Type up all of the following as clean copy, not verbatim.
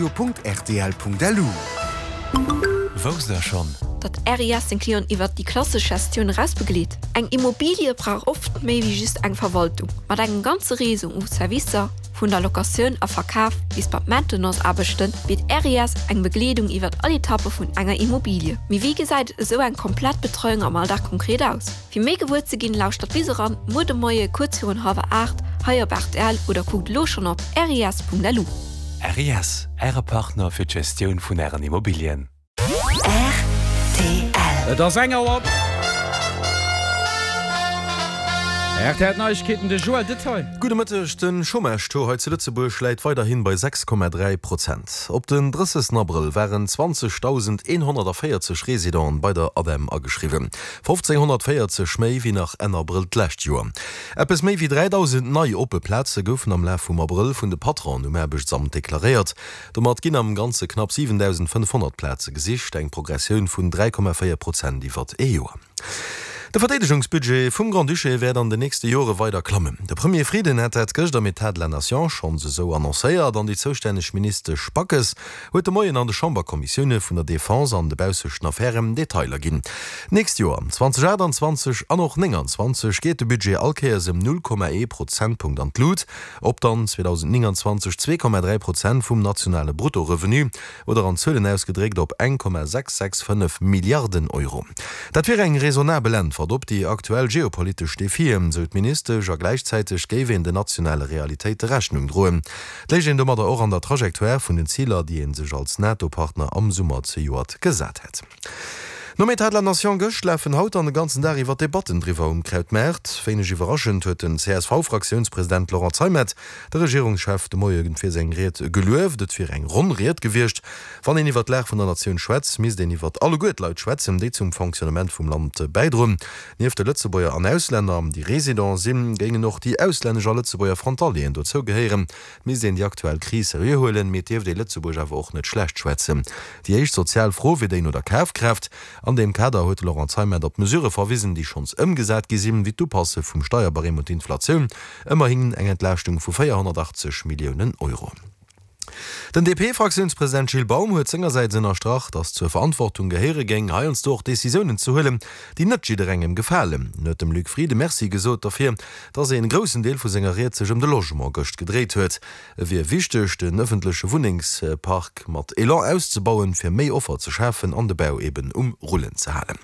Radio.rtl.lu. Wousst der schonn? Datt RIS seng Clienten iwwert déi klassesch Gestioun eraus begleet? Eng Immobilie brauch oft méi wéi just eng Verwaltung. Mat engem ganze Réseau u Servicer, vun der Locatioun a Verkaf bis bei d'Maintenance-Aarbechten, bitt RIS eng Begleedung iwwert all Etappe vun enger Immobilie. Mee wéi gesäit esou eng komplett Betreiung am Alldag konkret aus? Fir méi gewuer ze ginn, lauschtert bis eran muer de Moie kuerz virun hallwer 8 hei op rtl oder kuckt elo schonn op ris.lu. RIS, Äre Partner fir d'Gestioun vun Ären Immobilien. Rtl. Et ass eng Auer. Rtl Neiegkeeten, de Joël Detail. Gudde Mëtteg, De Chômage-Taux hei zu Lëtzebuerg läit weiderhin bei 6,3 Prozent. Op den 30 Abrëll waren 20.140 Residenten bei der ADEM ageschriwwen. 1.540 méi wéi nach Enn Abrëll d'lescht Joer. Eppes méi wéi 3.000 nei oppe Plaze goufen am Laf vum Abrëll vun de Patronen um Aarbechtsamt deklaréiert. Domat ginn am Ganze knapp 7.500 Plaze gesicht, eng Progressioun vun 3,4 Prozent iwwert ee Joer. De Verdeedegungsbudget vum Grand-Duché wäert an den nächste Jore weider klammen. De Premier Frieden hat dat gëscht am Etat de la Nation schonns esou annoncéiert an déi zoustänneg Ministesch Backes huet de Moien an de Chamberkommissioune vun der Defense an de baussechten Affären Detailer ginn. D'nächst Joer, 2028 an och 29, geet de Budget all Kéiers ëm 0,1 Prozentpunkt an d'Lut, op dann 2029 2,3 Prozent vum nationale Bruttorevenu oder an Zuelen ausgedréckt op 1,665 Milliarden Euro. Dat wier eng raisonnabel Äntwert op déi aktuell geopolitesch Defien, sou d'Ministesch, a gläichzäiteg géif een den nationale Realitéite Rechnung droen. Et léich een domadder och an der Trajectoire vun den Ziler, déi ee sech als NATO-Partner am Summer zejoert gesat hätt. Nom Etat de la Nation gëscht lafen haut dann de ganzen Dag iwwer Debatten driwwer um Krautmaart. Wéineg iwwerraschend huet den CSV-Fraktiounspresident Laurent Zeimet de Regierungschef de Moie fir seng Ried gelueft. Et wier eng ronn Ried gewiescht. Wann een iwwer d'Lag vun der Natioun schwätzt, misst een iwwer alleguer d'Leit schwätzen, déi zum Fonctionnement vum Land bäidroen. Nieft de Lëtzebuerger an Auslänner, déi Resident sinn, géingen och déi auslännesch a Lëtzebuerger Frontalieren dozou gehéieren. Et misst een déi aktuell Kris seriö huelen, mee et dierft ee Lëtzebuerg awer och net schlecht schwätzen. Déi éischt sozial Fro wier déi no der Kafkraaft. An deem Kader huet de Laurent Zeimet op d'Mesurë verwisen, déi schonns ëmgesat gi sinn, wéi d'Upasse vum Steierbarème un d'Inflatioun, ëmmerhin eng Entlaaschtung vu 480 Milliounen Euro. Den DP-Fraktiounspresident Gilles Baum huet sengersäits ënnerstrach, datt zur Verantwortung gehéiere géing, heiansdo och Decisiounen ze huelen, déi net jidderengem gefalen. En huet dem Luc Frieden Merci gesot derfir, datt een groussen Deel vu senger Ried sech ëm de Logement gëscht gedréit huet. Et wier wichteg, den ëffentleche Wunnengspark mat Elan auszebauen, fir méi Offer ze schafen an de Bau eben um Rullen ze halen.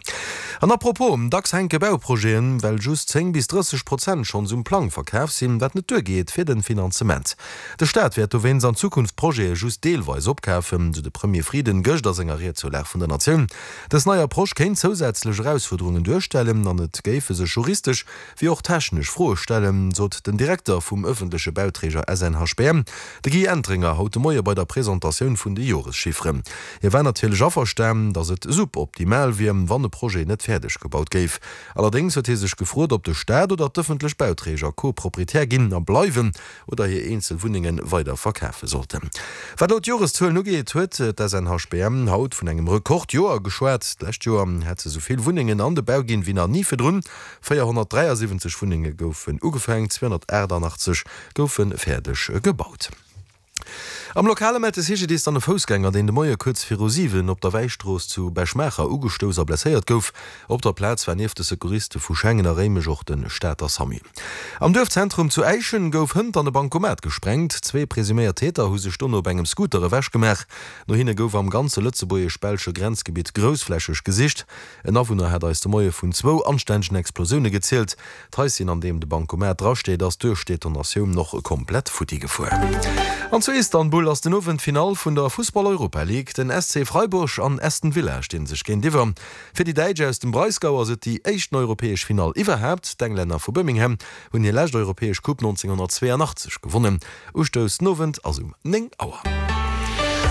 An à propos, dacks hänke Bauprojeten, well just 10 bis 30 Prozent schonns um Plang verkaf sinn, wat net duergeet fir de Finanzement. De Staat wäert dowéinst an Zukunft Projete just deelweis opkafen, sou de Premier Frieden gëscht a senger Ried zur Lag vun der Natioun. Dës nei Approche kéint zousätzlech Erausfuerderungen duerstellen an et géife sech juristesch wéi och technesch Froe stellen, sot den Direkter vum ëffentleche Bauträger SNHBM, de Guy Entringer, haut de Moie bei der Presentatioun vun de Joreschifferen. Hie war natierlech averstan, datt et suboptimal wier, wann e Projet net fäerdeg gebaut géif. Allerdéngs huet hie sech gefrot, ob de Staat oder d'ëffentlech Bauträger Co-Proprietär ginn a bleiwen oder hir eenzel Wunnenge weider verkafe sollten. Wat elo d'Joreszuelen ugeet, huet d'SNHBM haut vun engem Rekordjoer geschwat. D'lescht Joer hätt se esou vill Wunnengen an de Bau ginn, wéi nach ni virdrun. 473 Wunnenge goufen ugefaangen, 288 goufe fäerdeg gebaut. Am Lokale mellt de CGDIS dann e Foussgänger, deen de Moie kuerz viru 7 op der Wäistrooss zu Bech-Maacher ugestouss a blesséiert gouf. Op der Plaz war nieft de Secouriste vu Schengen a Réimech och de Stater Samu. Am Duerfzentrum zu Äischen gouf hënt an e Bankomat gesprengt. Zwee presuméiert Täter hu sech dono op engem Scooter ewechgemaach. No hinne gouf am ganze lëtzebuergesch-belsche Grenzgebitt groussflächeg gesicht. En Awunner hat eis de Moie vun zwou anstännegen Explosioune gezielt. D'Haisschen, an deem de Bankomat drasteet, ass duerch d'Detonatioun och komplett futti gefuer. An zu Istanbul ass den Owend d'Finall vun der Fussball-Europa-League. Den SC Freiburg an Aston Villa stinn sech géintiwwer. Fir déi Däitsch aus dem Breisgau ass et déi éischten europäesch Finall iwwerhaapt. D'Englänner vu Birmingham hunn hir lescht europäesch Coupe 1982 gewonnen. Ustouss den Owend ass um 9 Auer.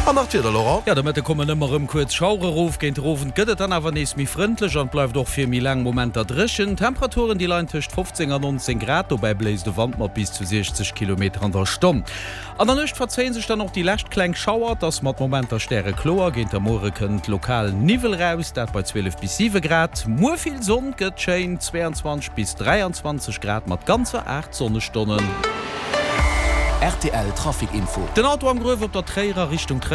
An nach d'Wieder, Laurent. Jo, de Mëtte kommen ëmmer rëm kuerz Schauere rof. Géint den Owend gëtt et dann awer nees méi frëndlech an et bleift och fir méi laang Momenter dréchen. D'Temperaturen, déi leien tëscht 15 an 19 Grad, dobäi bléist e Wand mat bis zu 60 Kilometer an der Stonn. An der Nuecht verzéie sech dann och déi lescht kleng Schauer, et ass mat Momenter stärekloer. Géint der Muere kënnt lokal Niwwel raus, dat bei 12 bis 7 Grad. Muer vill Sonn, gëtt schéin, 22 bis 23 Grad mat ganzer 8 Sonnestonnen. Rtl Trafic Info. Den Auto am Gruef op der Tréierer Richtung Tréier.